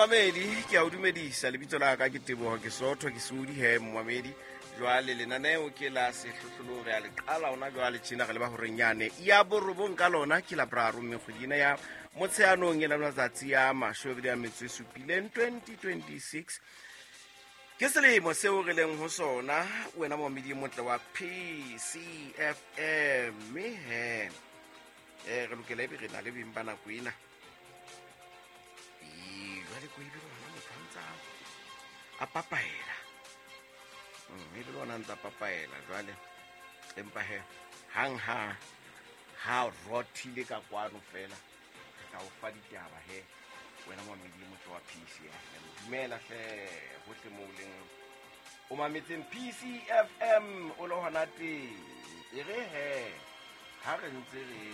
Momamedi, ke a o dumedisa. Lebitso la ka ke Teboho, ke Sotho, ke Sodi he momamedi. Jwale lenaneo ke la sehlohlolong, re a le qala ona jwale tjena re leba horeng yane ya borobong ka lona ke la boraro, mme kgwedi ena ya Motsheanong e la matsatsi a 27 2026 ke selemo seo re leng ho sona. Wena momamedi motle wa PCFM, mme he re lokela ebe re na le beng ba nako ena. Jwale ko ebile ona motho a ntsa a papaela, ebile ona ntsa papaela jwale, empa he hang ha ha rothile ka kwano fela re tla o fa ditaba he. Wena momamedi motho wa PCFM, dumela hle hohle moo o leng o mametseng PCFM o le hona teng. E re he ha re ntse re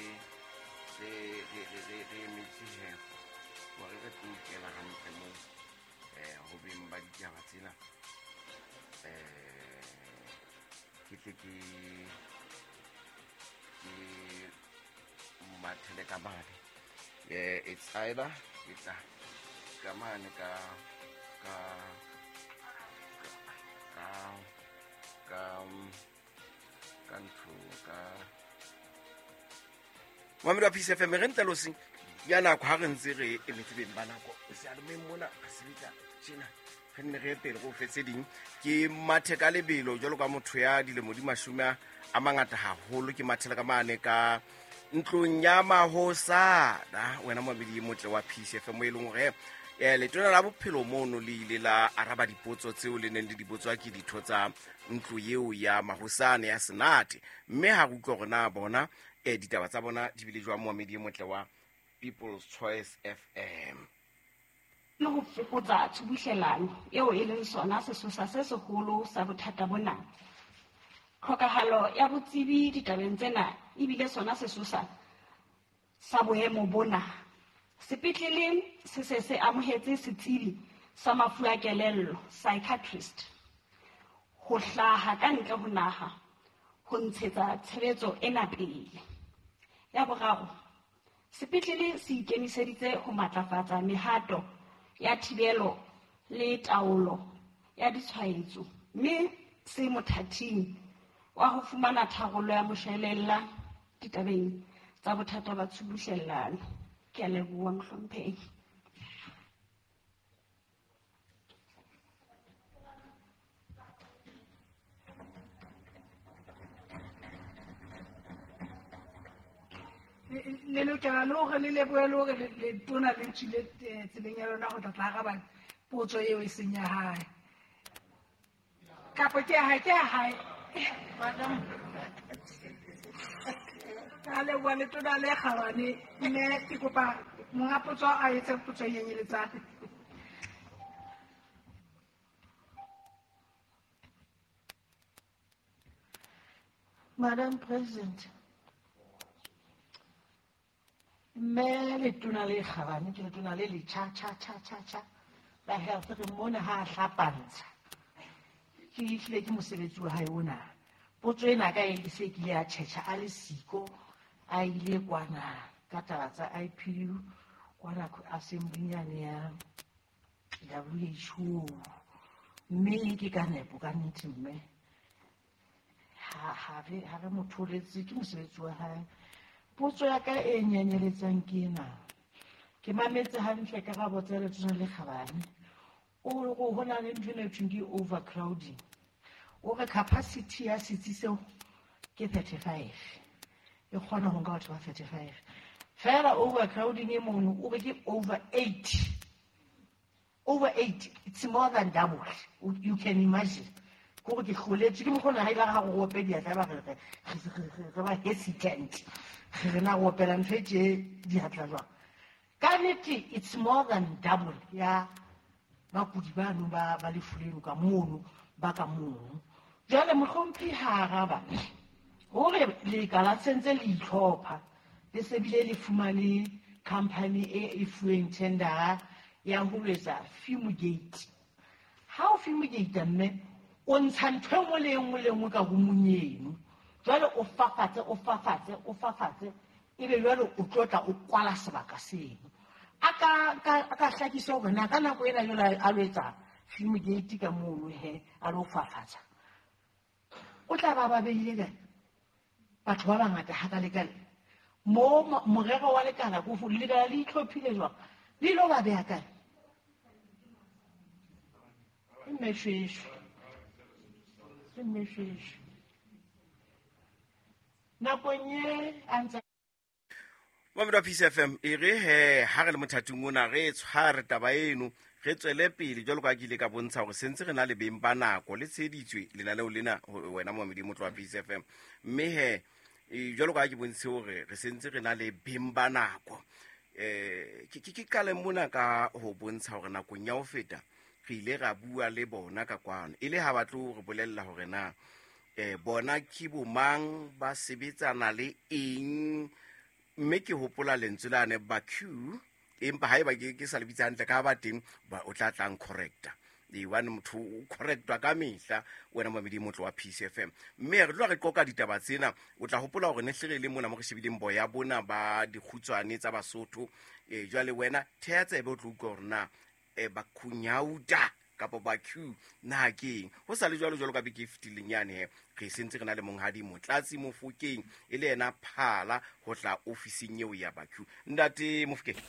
emetse he hore re tlo kena hantle moo ho beng ba ditaba tsena, ke tle ke mathele ka mane. It's either ke tla ka mane ka ka ka ka ka ntho ka mamedi wa PCFM re ntle losing ya nako ha re ntse re emetse beng ba nako seyalemoyeng mona re sebetsa tjena, re nne re ye pele go fe tse ding. Ke mathe ka lebelo jwalo ka motho ya dilemo di mashome a mangata haholo, ke mathela ka mane ka ntlong ya mahosana. Wena momamedi motle wa PCFM, e leng hore letona la bophelo mono le ile la araba dipotso tseo le neng le di botswa ke ditho tsa ntlo eo ya mahosana ya Senate, mme ha re utlwa hore na bona ditaba tsa bona di bile jwang. Momamedi motle wa People's Choice FM, le ho fokotsa tshubuhlellano eo e leng sona sesosa se seholo sa bothata bona. Tlhokahalo ya botsebi ditabeng tsena ebile sona sesosa sa boemo bona. Sepetlele se se se amohetse setsebi sa mafu a kelello, psychiatrist, ho hlaha ka ntle ho naha ho ntshetsa tshebetso ena pele. Ya boraro, sepetlele se ikemiseditse ho matlafatsa mehato ya thibelo le taolo ya ditshwaetso, mme se mothating wa ho fumana tharollo ya moshwelella ditabeng tsa bothata ba tshubuhlellano. Ke a leboha, mohlomphehi. Le lokela le hore le lebohe le hore letona le tswile tseleng ya lona ho tla tla araba potso eo e seng ya hae. Kapa ke ya hae, ke ya hae. Madam. Ka leboha letona le kgabane, mme ke kopa monga potso a etse potso e nyenyeletsang. Madam President, mme letona le kgabane ke letona le le cha cha cha cha cha la health re mona ha hlapantsha. Ke hlile ke mosebetsi wa hae ona. Potso ena ka e se kile ya tjhetjha a le siko a ile kwana ka taba tsa IPU kwana assembly yane ya WHO, mme ke ka nepo ka nnete mme ha re mo tholetse ke mosebetsi wa hae. Potso ya ka e nyenyeletsang ke ena. Ke mametse hantle karabo tsa letona le kgabane. O re ho na le ntho e thweng ke overcrowding. O re capacity ya setsi seo ke 35. E kgona ho nka batho ba 35. Fela overcrowding e mono o re ke over 8. Over 8, it's more than double. You can imagine. Ko ke hloletse ke mokgona ha ile ga go ope diatla ba re re ba hesitant. Re na go opela ntho e tje diatla jwang. Ka nnete it's more than double ya bakudi bano ba lefu leno ka mono ba ka mono. Jwale mohlomphehi ha araba hore lekala sentse le itlhopha le se bile le fumane company e fuweng tender ya ho etsa fumigate. Ha o fumigate mme o ntsha ntho e nngwe le nngwe le nngwe ka roomong eno. Jwale o fafatse, o fafatse, o fafatse, ebe jwale o tlo tla o kwala sebaka seno. A ka hlakisa hore na ka nako ena jwale a lo etsa fumigate ka mono he a lo fafatsa. O tla ba beile kae? Batho ba bangata hakalekale. Mo morero wa lekala ko lekala le itlhophile jwang? Le ilo ba beha kae? Mmeshweshwe. Nakong e a ntse Mamedi wa Peace FM e re he ha re le mothating ona re tshware taba eno re tswele pele jwalo ka ke ile ka bontsha hore sentse re na le beng ba nako le tsheditswe lenaneo lena wena Mamedi motlo wa Peace FM mme he jwalo ka ke bontshe hore re sentse re na le beng ba nako ke qale mona ka ho bontsha hore nakong ya ho feta re ile ra bua le bona ka kwano e le ha ba tlo re bolella hore na bona ke bomang ba sebetsana le eng mme ke hopola lentswe la ne ba Q empa haeba ke sa le bitsa hantle ka ba teng ba o tla tlang correcta e one motho o correctwa ka mehla wena Mamedi motlo wa Peace FM mme re tlo re qoka ditaba tsena o tla hopola hore ne hle re le mona mo re shebileng boya bona ba dikgutswane tsa Basotho jwale wena theha tsebe o tlo utlwa hore na ba khunyauta kapa ba Q na keng ho sa le jwalo jwalo ka beke e fetileng yane he re sentse re na le monghadi Motlatsi Mofokeng e le yena phala ho tla ofising eo ya ba Q. Ntate Mofokeng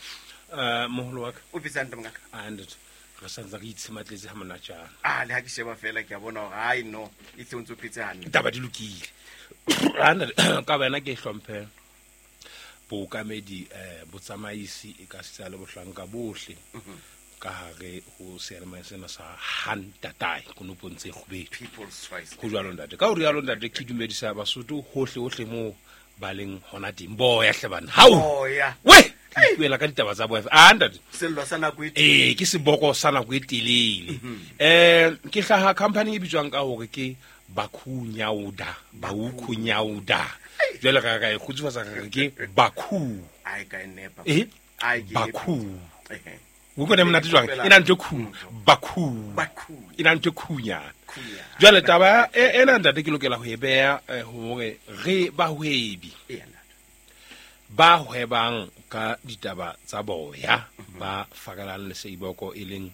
moholo wa ka o phetse hantle mongaka? Ntate re santse re itshematletse ha monatjana. Le ha ke sheba fela ke a bona hore ai no e tle o ntso phetse hantle taba di lokile. Ka wena ke hlomphe bookamedi botsamaisi e ka sitsa le bohlanka bohle ka hare ho seyalemoya sena sa Hantatai konopong tse kgubedu. People's Choice. Ho jwalo ntate. Ka ho rialo ntate ke dumedisa Basotho hohle hohle moo ba leng hona teng. Boya hle bana. Hao. Boya. We, ke ipuela ka ditaba tsa boya. Ntate. Sello sa nako e telele. Ke seboko sa nako e telele. Ke hlaha company e bitswang ka hore ke Bakhunyauda, Baukhunyauda. Jwale ka e kgutsufatsa re ke Bakhu. Ai ka e nepa. Ai ke Bakhu. O kone monate jwang? E na ntho khu, Bakhu. E na ntho khunyana. Jwale taba ena ntate ke lokela ho e beha hore re bahwebi ba hwebang ka ditaba tsa boya ba fakalang le seiboko e leng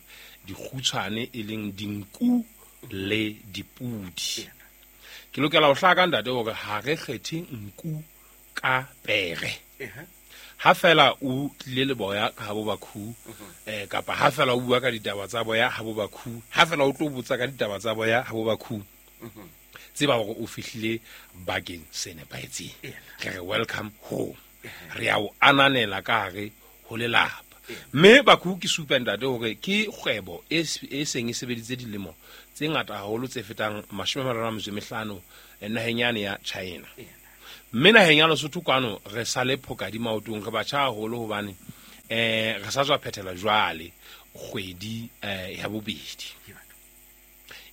dikgutshwane e leng dinku le dipudi. Ke lokela ho hlaka ntate hore ha re kgethe nku ka pere. Ha fela o tlile le boya ka ha bo Bakhu kapa ha fela o bua ka ditaba tsa boya ha bo Bakhu, ha fela o tlo botsa ka ditaba tsa boya ha bo Bakhu, tseba hore o fihlile bakeng se nepahetseng. Re re welcome home. Re a o ananela ka hare ho lelapa. Mme Bakhu ke supa ntate hore ke kgwebo e seng e sebeditse dilemo tse ngata haholo tse fetang 35 naheng yane ya China. Mme naheng ya Lesotho kwano re sale phokadi maotong re batjha haholo hobane re sa tswa phethela jwale kgwedi ya bobedi.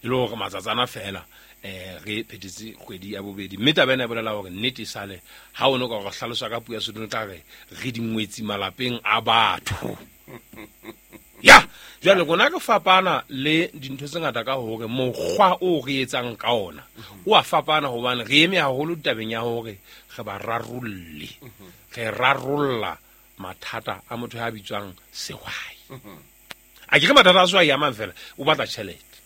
E le hore matsatsana fela re phethetse kgwedi ya bobedi. Mme taba ena e bolela hore nnete sale ha o no ka re hlalosa ka puo ya Sesotho tla re re dingwetsi malapeng a batho. Ya, jwale rona re fapana le dintho tse ngata ka hore mokgwa o re etsang ka ona o a fapana hobane re eme haholo tabeng ya hore re ba rarolle. Re rarolla mathata a motho ya bitswang sehwai. A ke re mathata a sehwai a mang fela o batla tjhelete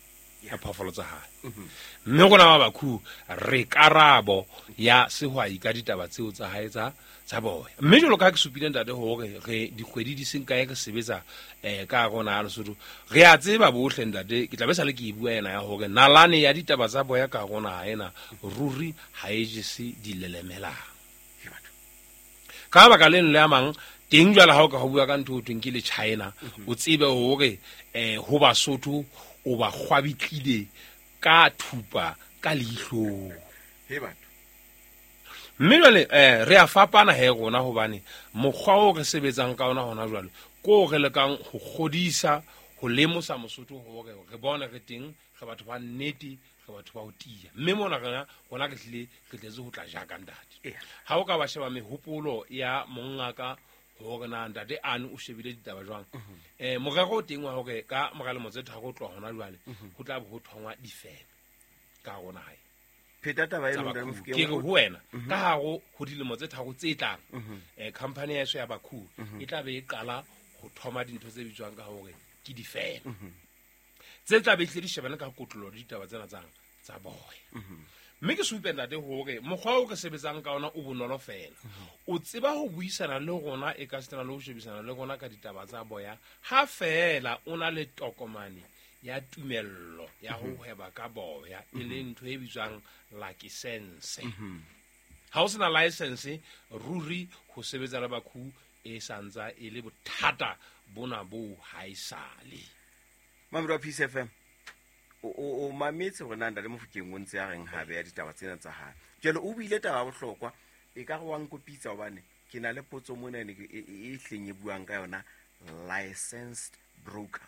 ya phoofolo tsa hae. Mme rona ba Bakhu re karabo ya sehwai ka ditaba tseo tsa hae tsa boya. Mme jwalo ka ha ke supile ntate hore re dikgwedi di seng kae re sebetsa ka rona ya Lesotho, re a tseba bohle ntate, ke tla be sa le ke e bua ena ya hore nalane ya ditaba tsa boya ka rona ha ena ruri ha e jese dilelemelang. Ka baka leno le a mang teng jwale ha o ka ho bua ka ntho ho thweng ke le China, o tsebe hore ho Basotho o ba kgwabitlile ka thupa ka leihlong. Mme jwale re a fapana he rona hobane mokgwa o re sebetsang ka ona hona jwale ko re lekang ho kgodisa ho lemosa Mosotho hore re bone re teng re batho ba nnete re batho ba ho tiya. Mme mona rona re tlile re tletse ho tla jaka ntate. Ha o ka ba sheba mehopolo ya mongaka hore na ntate ane o shebile ditaba jwang, morero o teng wa hore ka mora lemo tse tharo ho tloha hona jwale ho tla bo ho thongwa difeme ka rona hae. Pheta taba eno ntate Mofokeng. Ke re ho wena ka hare ho dilemo tse tharo tse tlang company ya eso ya Bakhu e tla be e qala Ho thoma dintho tse bitswang ka hore ke difeme tse tla be tlile di shebane ka kotlolo le ditaba tsena tsa boya. Mme ke supe ntate hore mokgwa o re sebetsang ka ona o bonolo fela. O tseba ho buisana le rona, e ka sitana le ho shebisana le rona ka ditaba tsa boya, ha fela o na le tokomane ya tumello ya ho hweba ka boya, e leng ntho e bitswang license. Ha o sena license, ruri ho sebetsa le bakhu e santsa e le bothata bona bo ha e sale. Mamedi wa Peace FM, o mametse hore na Ntate Mofokeng o ntse a reng ha beya ditaba tsena tsa hae. Jwale o buile taba ya bohlokwa, e ka re wa nkopitsa hobane ke na le potso mona e e hleng e buang ka yona licensed broker.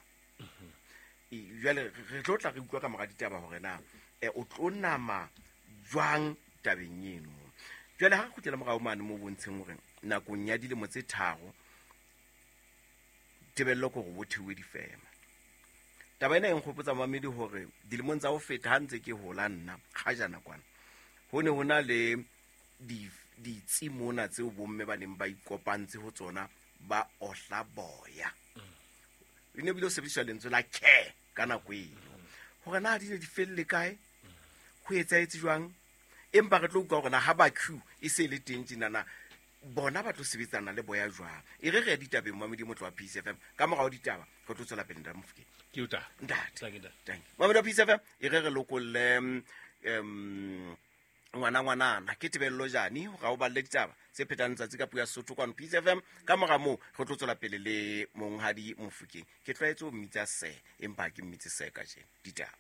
Jwale re tlo tla re utlwa ka mora ditaba hore na o tlo nama jwang tabeng eno. Jwale ha re kgutlela morao mane mo bontsheng hore nakong ya dilemo tse 3 tebello ke hore bo thewe difeme. Taba ena e nkgopotsa mamedi hore dilemong tsa ho feta ha ntse ke hola nna kgajana kwana, ho ne ho na le ditsi mona tseo bomme ba neng ba ikopantse ho tsona ba ohla boya. E ne bile ho sebediswa lentswe la care ka nako eno. Hore na di ne di felle kae, ho etsahetse jwang, empa re tlo utlwa hore na ha ba queue e se le teng tjenana, bona ba tlo sebetsana le boya jwang. E re re ya ditabeng mamedi motlo wa Peace FM, ka morao ditaba re tlo tswela pele Ntate Mofokeng. Ke o tla. Ntate. Thank you, ntate. Thank you. Mamedi wa Peace FM, e re re lokolle, ngwana ngwanana ke Tebello Jane hore a o balle ditaba tse phetang letsatsi ka puo ya Sesotho kwano Peace FM. Ka mora moo re tlo tswela pele le Monghadi Mofokeng. Ke tlwaetse ho mmitsa se, empa ha ke mmitse se kajeno. Ditaba.